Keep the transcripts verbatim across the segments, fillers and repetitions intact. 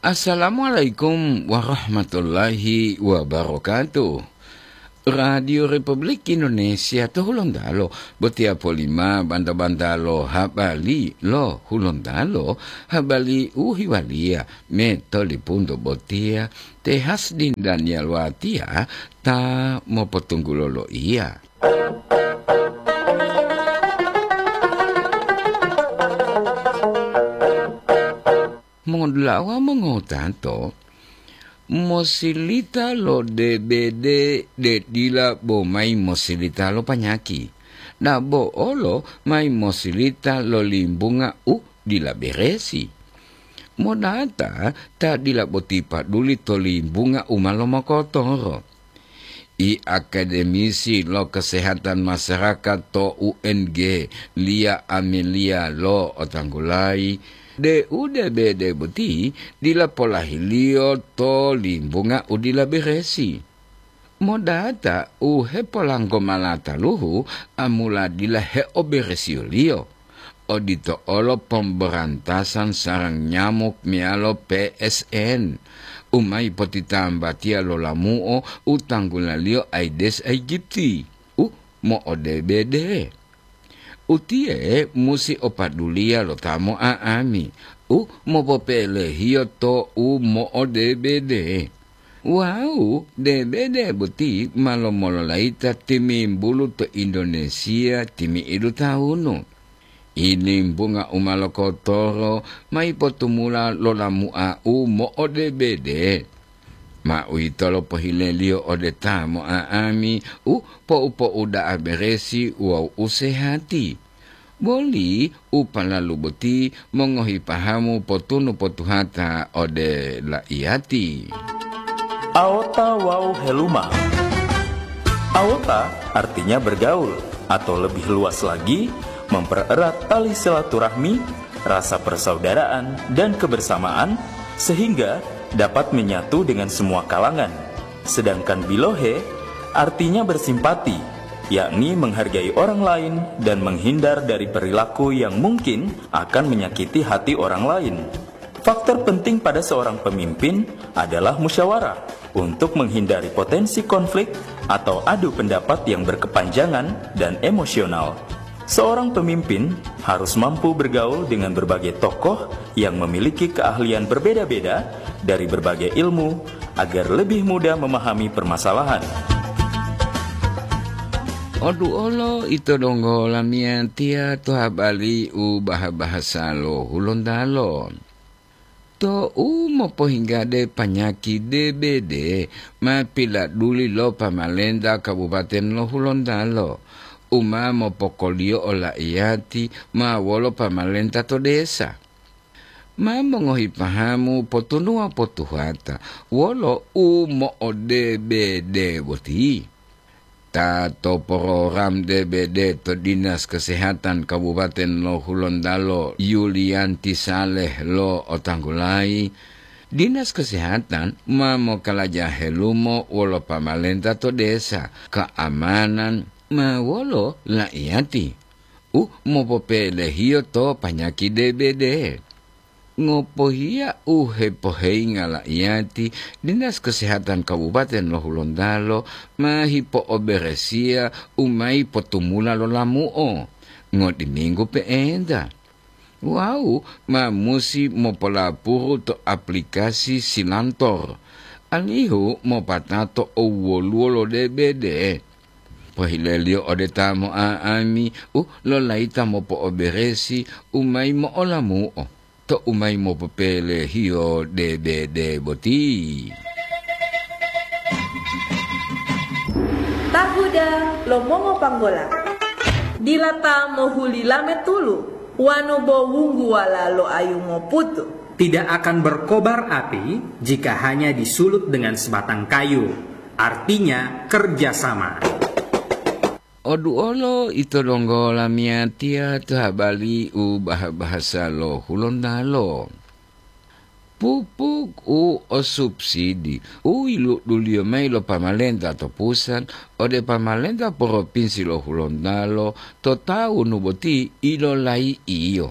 Assalamualaikum warahmatullahi wabarakatuh. Radio Republik Indonesia to Hulontalo, botiya polima banta-banta lo habari lo Hulontalo, habari u hiwaliya me to lipunto botiya, te Hasdin Daniel Watiya ta mopotunggulo loiya. Mongodulawa mongotato, mosilita lo D B D de dila bo mayi mosilita lo panyaki, dabo olo mayi mosilita lo limbunga u dila beresi. Modata ta dila boti paduli to limbunga u ma lomokotoro. I akademisi lo kesehatan masyarakat to U N G, Lia Amelia lo otanggulayi, de u D B D boti dila polahiliyo to limbunga u dila beresi. Modata u hepolanggo malataluhu amula dila heoberesiyoliyo. Odito olo pemberantasan sarang nyamuk meyalo P S N, u mayi potitambatiya lo lamu'o u tanggulaliyo Aedes aegypti, u mo'odebede. Utiye musi opaduliya lo ta mo'a'ami, u mopopelehiyo to u mo'odebede. Wawu debede boti ma lomololayita timimbulu to Indonesia timi'idu tawunu. Ilimbunga u ma lokotoro mayi potumula lo lamu'a u mo'odebede. Ma uwitolo pohileliyo ode ta mo'a'ami u po'u-po'u da'a beresi wawu u sehati. Boli u palalu boti mongohi pahamu potunu potuhata ode la'iyati. Aota wawu heluma. Aota artinya bergaul, atau lebih luas lagi, mempererat tali silaturahmi, rasa persaudaraan, dan kebersamaan, sehingga dapat menyatu dengan semua kalangan. Sedangkan bilohe artinya bersimpati, yakni menghargai orang lain dan menghindar dari perilaku yang mungkin akan menyakiti hati orang lain. Faktor penting pada seorang pemimpin adalah musyawarah untuk menghindari potensi konflik atau adu pendapat yang berkepanjangan dan emosional. Seorang pemimpin harus mampu bergaul dengan berbagai tokoh yang memiliki keahlian berbeda-beda dari berbagai ilmu agar lebih mudah memahami permasalahan. Odu olo ito donggo lamiyatiya to habari u baha-bahasa lo Hulontalo. To u mopohinggade panyaki D B D ma piladuli lo pamalenta Kabupaten lo Hulontalo, u ma mopokoliyo ola'iyati ma wolo pamalenta to desa. Ma mongohi pahamu potunuwa potuhata wolo u mo'odebede boti. Ta to program D B D to Dinas Kesehatan Kabupaten lo Hulontalo, Yulianti Saleh lo otanggulayi, Dinas Kesehatan ma mokalaja helumo wolo pamalenta to desa, keamanan ma wolo la'iyati u mopopelehiyo to panyaki D B D. Ngopohiya u hepoheyinga la'iyati, Dinas Kesehatan Kabupaten lo Hulontalo ma hipo'oberesiya u mayi potumula lo lamu'o ngotiminggu pe'enta. Wawu ma musi mopolapuru to aplikasi Silantor, alihu mopatato owoluwo lo D B D. Pohileliyo ode ta mo'a'ami u lolayita mopo'oberesi u mayi mo'olamu'o to u mayi mopopelehiyo D B D boti. Tahuda lo mongopanggola. Dila ta mohuli lame tulu, wanu bo wungguwala lo ayu moputu. Tidak akan berkobar api jika hanya disulut dengan sebatang kayu, artinya kerjasama. Oduolo ito donggo lamiyatiya to habari u baha-bahasa lo Hulontalo. Pupuk u o subsidi u yiluduliyo mayi lo pamalenta to pusat ode pamalenta poropinsi lo Hulontalo to tawunu boti ilolai'iyo.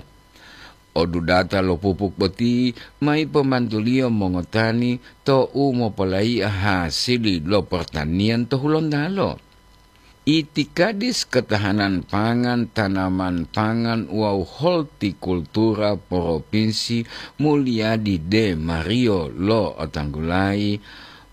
Odudata lo pupuk boti ma yipomantuliyo mongotani to u mopolaiya hasili lo portaniyan to Hulontalo. Itikadis Ketahanan Pangan, Tanaman Pangan wawu Hortikultura Propinsi Mulyadi De Mario lo'otanggulayi,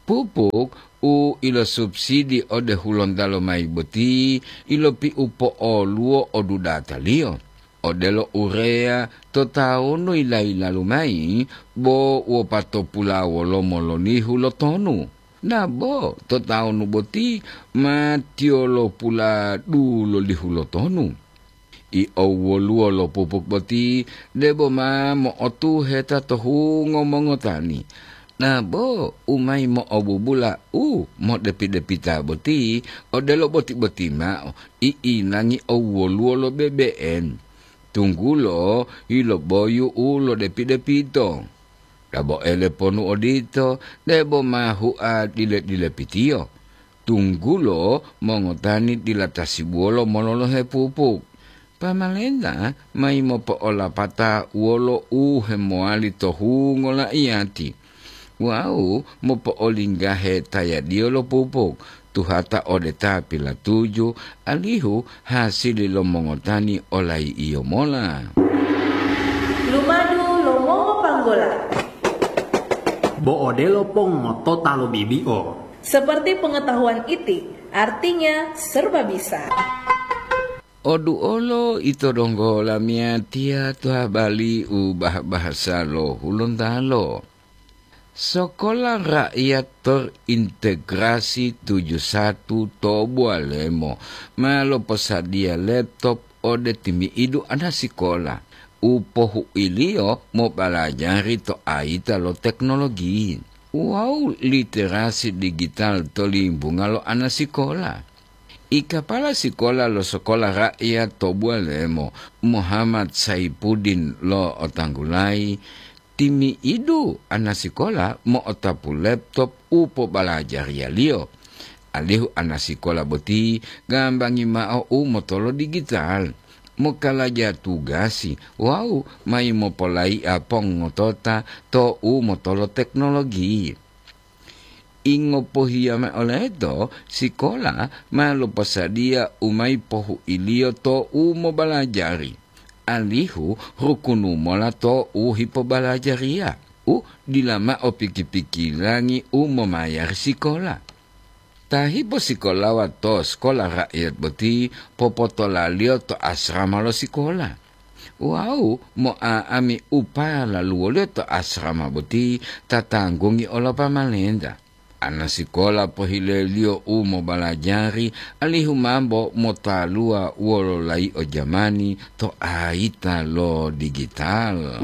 pupuk u ilosubsidi ode Hulontalo mayi boti ilopiupo'oluwo odudataliyo, odelo urea to tawunu yila-yilalu mayi, bo wopatopula wolomo lolihu lo tonu. Nabo to tawunu boti ma tiyolopula dulolihu lo tonu. I owwoluwo lo pupuk boti debo ma mo'otuheta to hungo mongotani. Nabo u mayi mo'obubula u modepi-depita boti odelo boti-boti mao, i inangi owwoluwo lo bebe'en, tunggulo yiloboyu u lodepi-depito. Dabo ele ponu odito, debo ma hua dile-dilepitiyo, tunggulo mongotani dila tasibuwolo mololohe pupuk. Pamalenta mayi mopo'olapata wolo u hemowali to hungo la'iyati wawu mopo'olinggahe tayadiyo lo pupuk, tuhata ode ta pilatuju, alihu hasili lo mongotani olayi'iyo mola. Lumadu lo mongopanggola. Bo odelo pongotota lo bibi'o. Seperti pengetahuan iti, artinya serba bisa. Oduolo ito donggo lamiyatiya to habali u bah-bahasa lo Hulontalo. Sokola Rakyat Terintegrasi tujuh satu to Bualemo ma loposadiya laptop ode timi'idu anasikola u pohuiliyo mobalajari to ayita lo teknologi wawu literasi digital to limbunga lo anasikola. I kapala sikola lo Sokola Rakyat to Bualemo, Muhammad Saipuddin lo'otanggulayi, timi'idu anasikola mo'otapu laptop u pobalajariya-Liyo, alihu anasikola boti gambangi mao u motolo digital, mokalaja tugasi wawu mayi mopolai'a pongotota to u motolo teknologi. Ingopohiya mao leto, sikola ma loposadiya u mayi pohuiliyo to u mobalajari, alihu rukunu mola to u hipobalajariya, u dila mao piki-pikilangi u momayari sikola. Ta hiposikolawa to Sekolah Rakyat boti popotolaliyo to asrama lo sikola. Wawu mo'a'ami u palaluwoliyo to asrama boti tatanggungi olo pamalenta. Anasikola pohileliyo u mobalajari alihu mambo motaluwa wolo layi'o jamani to ayita lo digital.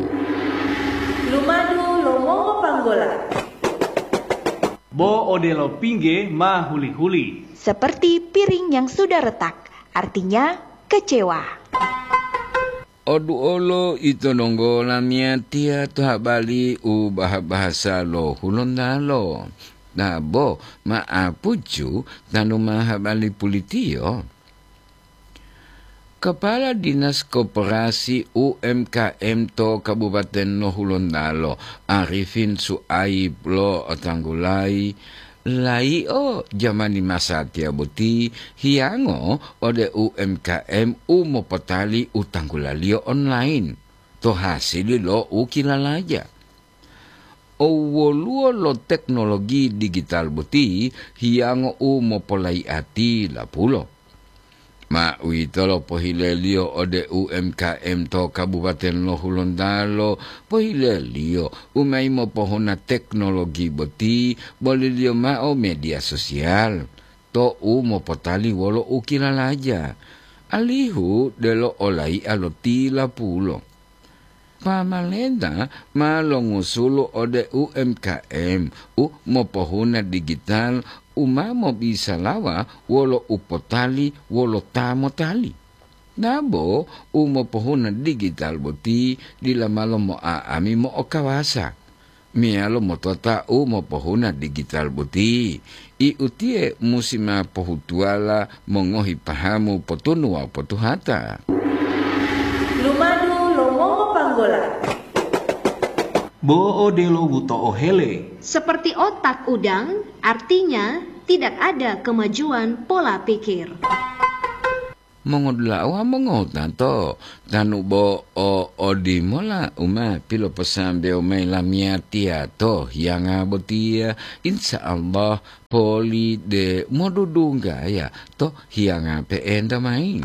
Lumadu lo mongopanggola. Bo odelo pingge ma huli-huli. Seperti piring yang sudah retak, artinya kecewa. Oduolo ito donggo lamiyatiya to habali u baha-bahasa lo Hulontalo. Dabo ma'apucu tanu ma habali pulitiyo. Kepala Dinas Koperasi U M K M to Kabupaten lo Hulontalo, Arifin Suaib lo'otanggulayi, layi'o jamani masatiya boti hiyango ode U M K M u mopotali u tanggulaliyo online to hasili lo u kilalaja. Owwoluwo lo teknologi digital boti hiyango u mopolai'ati lapulo. Ma uwitolo pohileliyo ode U M K M to Kabupaten lo Hulontalo, pohileliyo u mayi mopohuna teknologi boti boliliyo mao media sosial to u mopotali wolo u kilalaja, alihu delo olai'a lo tilapulo. Pamalenta ma longusulo ode U M K M u mopohuna digital u ma mobisalawa wolo u potali wolo ta motali. Dabo u mopohuna digital boti dila malo mo'a'ami mo'okawasa, meyalo motota u mopohuna digital boti. I utiye musi ma pohutuwala mongohi pahamu potunu wawu potuhata. Lumadu lo mongopang- bola. Bo odelo wuto'o hele. Seperti otak udang, artinya tidak ada kemajuan pola pikir. Mongodula'a wawu mongotato, tanu bo o odimola u ma piloposambewo mayi lamiyatiya to hiyanga botiya, insya Allah poli de modudunggaya to hiyanga pe'enta mayi.